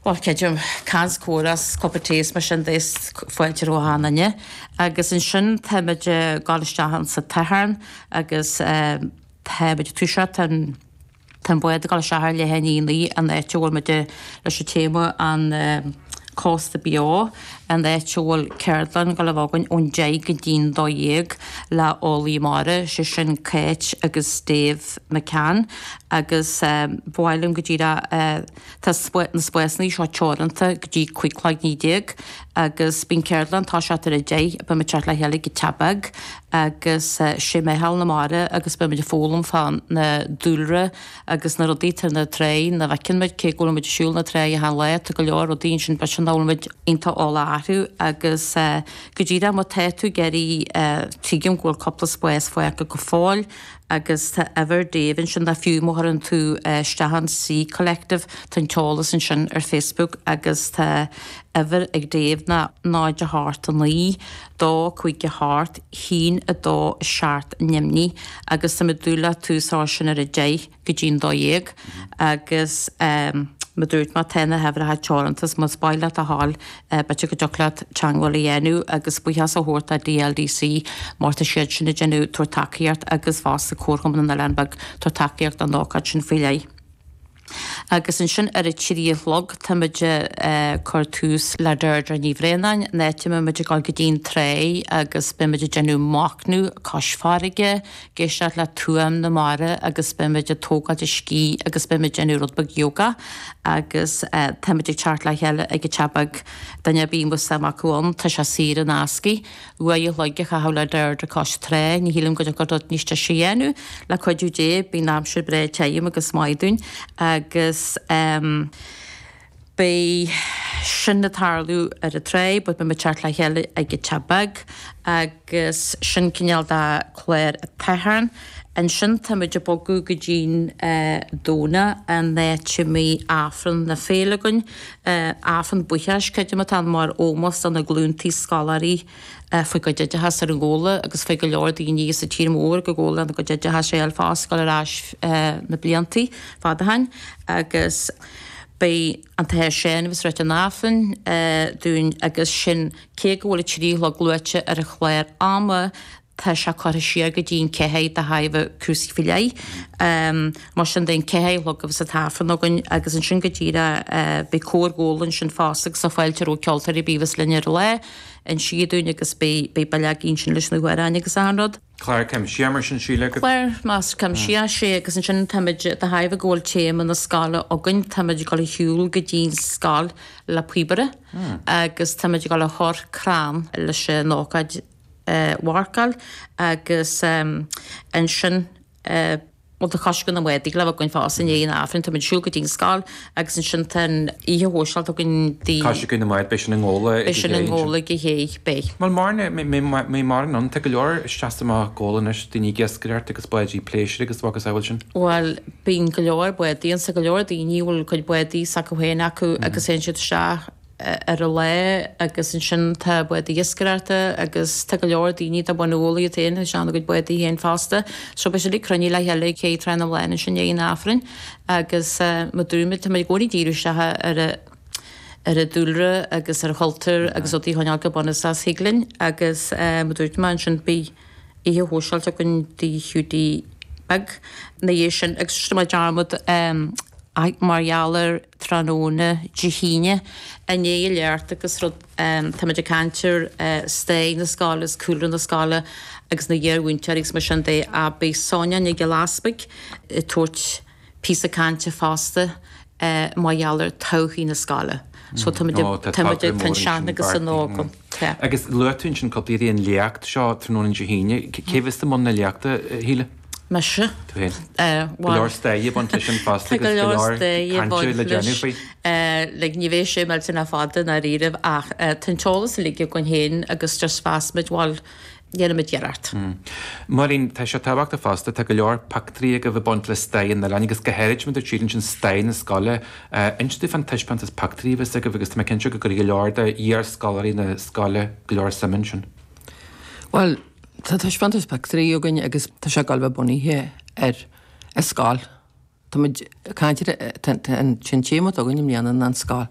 Bhuel, creidim, caint comhrá 's cupa tae is mar sin de is fáilte roimh achan duine. Agus ansin táimid ag dul isteach insa Toichearn agus táimid ag toiseacht, tá an, tá an bád ag dul isteach ar leath i ndiaidh a 9, an áit a bhfuil muid leis an téama an Cósta Beo, an áit a bhfuil ceardlann ag dul a bheith againn ón 10 go dtí'n 12 le eolaí mara, sé sin Cáit agus Dave McCann agus ba mhaith liom go díreach Tá na spásanna seo teoranta go dtí 15 cloig agus bíonn ceardlann ag toiseacht ar a 10, beimid ag teacht le chéile ag an Teach Beag agus sé Meitheal na Mara agus beimid ag foghlaim fá na dúlra agus na rudaí atá ar na tráigh nach bhfeiceann muid cé go bhfuil muid ag siúl na tráigh achan lá tá go leor rudaí ansin b'fhéidir nach bhfuil muid iontach eolach orthu agus go díreach má tá tú ag iarraidh tuigim go bhfuil cúpla spás fágtha go fóill Agus tá uimhir Dave ansin nó fiú má chuireann tú isteach an Sea Collective tá an t-eolas ansin ar Facebook agus tá uimhir ag Dave ná 0 8 9 2 5 8 1 2 7 neamhní agus tá muid ag dúil le tús a chur sin ar a 10 go dtí'n 12 agus mar a dúirt mé tá na huimhreacha teoranta so más maith leat a ghabháil B'fhéidir go dtiocfadh leat teangmháil a dhéanamh agus buíochas a thabhairt do DLDC mar tá siad sin ag déanamh, tabhairt tacaíocht agus fosta Comharchumann an Oileáin Bheag tabhairt tacaíocht don ócáid sin faoi leith. Agus ansin ar a 3 a chlog táimid ag cur tús le Deirdre Ní Bhraonáin, an áit a mbeimid ag dul go dtí'n tráigh agus beimid ag déanamh machnamh cois farraige, ag éisteacht le tuaim na mara agus beimid ag tógáilt a scíth agus beimid ag déanamh rud beag yoga agus táimid ag teacht le chéile ag an Teach Beag, duine ar bith a bhfuil suim acu ann, tá sé saor in aisce. Uair a chloig a chaitheamh le Deirdre cois trá, ní shílim go dtiocfadh rud níos deise a dhéanamh, le cuidiú Dé, bíonn aimsir breá tirim agus maith dúinn agus. Beidh sin ag tarlú ar an tráigh but beidh muid ag teacht le chéile ag an Teach Beag agus sin cineál de clár an tSathairn. Ansin tá muid ag bogadh go dtí'n Domhnach an áit a mbeidh Aifreann na Féile againn. Aifreann buíochais, creidim atá ann mar ómós do na glúntaí scoláirí faoi gcuid oideachas ar an Ghabhla agus faoi go leor daoine sa tír mór go Gabhla lena gcuid oideachais a fháil fosta ag dul ar ais na bliantaí fada ó shin agus Beidh an tAthair Seán a bheas ag ráit an Aifrinn dúinn agus sin cé go bhfuil a 3 a chlog luaite ar an chlár ama tá sé curtha siar go dtí an 4 de thairbhe cúrsaí faoi leith. Mar sin de an 4 a chlog a bheas an tAifreann againn agus ansin go díreach beidh Cór Ghabhla ansin fosta agus tá fáilte roimh ceoltóirí ar bith a bheas linn ar an lá insí dúinn agus beidh beidh bileogaí ansin leis na hamhráin agus achan rud. Clár cuimsitheach mar sin, Síle. Clár measartha cuimsitheach, sea, agus ansin táimid, de thairbhe go bhfuil téama na scoile againn, táimid ag dul a shiúl go dtí'n scoil le píobaire agus táimid ag dul a chur crann leis an ócáid a mharcáil agus ansin, Bhuel, tá coisceadh na mbádaí le bheith againn fosta i ndiaidh an Aifrinn. Táimid ag siúl go dtí an scoil agus ansin tá an oíche shóisialta againn dtí. Coisceadh na mbád, beidh sin i nGabhla ag a Beidh sin i nGabhla ag a shé, beidh. Bhuel, mar, mbeidh mórán ann, tá go leor isteach is amach Gabhla anois, daoine ag iascaireacht agus báidí pléisiúir agus macasamhail sin. Bhuel, bíonn go leor bádaí ann, tá go leor daoine a bhfuil cuid bádaí s'acu féin acu agus téann siad isteach. ar an lá agus ansin tá bádaí iascaireachta agus tá go leor daoine atá ag baint Ghabhla iad féin isteach ina gcuid bádaí féin fosta. So beidh siad uilig cruinnithe le chéile ag Cé Trá na mBláthanna ansin i ndiaidh an Aifrinn agus mar a dúirt mé tá muid i gcónaí ag díriú isteach ar an ar an dúlra agus ar an chultúr agus rudaí a choinneáil go bunúsach thig linn agus mar a dúirt mé ansin beidh oíche shóisialta againn Tigh Hiúdaí Beag ina dhiaidh sin agus rinne mé dearmad mar gheall ar tráthnóna Dé hAoine i ndiaidh an léacht agus rud táimid ag caint ar stair na scoile is cúlra na scoile agus na iar-mhúinteoirí agus mar sin de ach beidh Sonia Nic Giolla Easpaig ag tabhairt píosa cainte fosta mar gheall ar todhchaí na scoile. So táimid ag táimid ag tá an sean agus an óg ann. Tá. Agus luaigh tú ansin cúpla iarraidh an léacht seo tráthnóna Dé hAoine. Cé bheas i mbun na léachta, a Shíle? Mise. Tú féin. Go leor staire ag baint leis sin fosta agus go leor cainte le déanamh faoi. Like ní bheidh sé millteanach fada i ndáiríribh ach tá an t-eolas uilig againn féin agus just mheas muid bhuel dhéanfaimid iarracht. Máirín, tá sé tábhachtach fosta, tá go leor pictiúirí agaibh ag baint le stair an oileáin agus go háirid mar a dúirt Síle ansin stair na scoile. Inis dúinn fán taispeántas pictiúirí a bheas agaibh agus tá mé cinnte go gcuirfidh go leor de iar-scoláirí na scoile go leor suime ansin. Bhuel, Tá taispeántas pictiúirí againn agus tá sé ag dul a bheith bunaithe ar an scoil. Tá muid ag caint ar an téama atá againn i mbliana ná an scoil.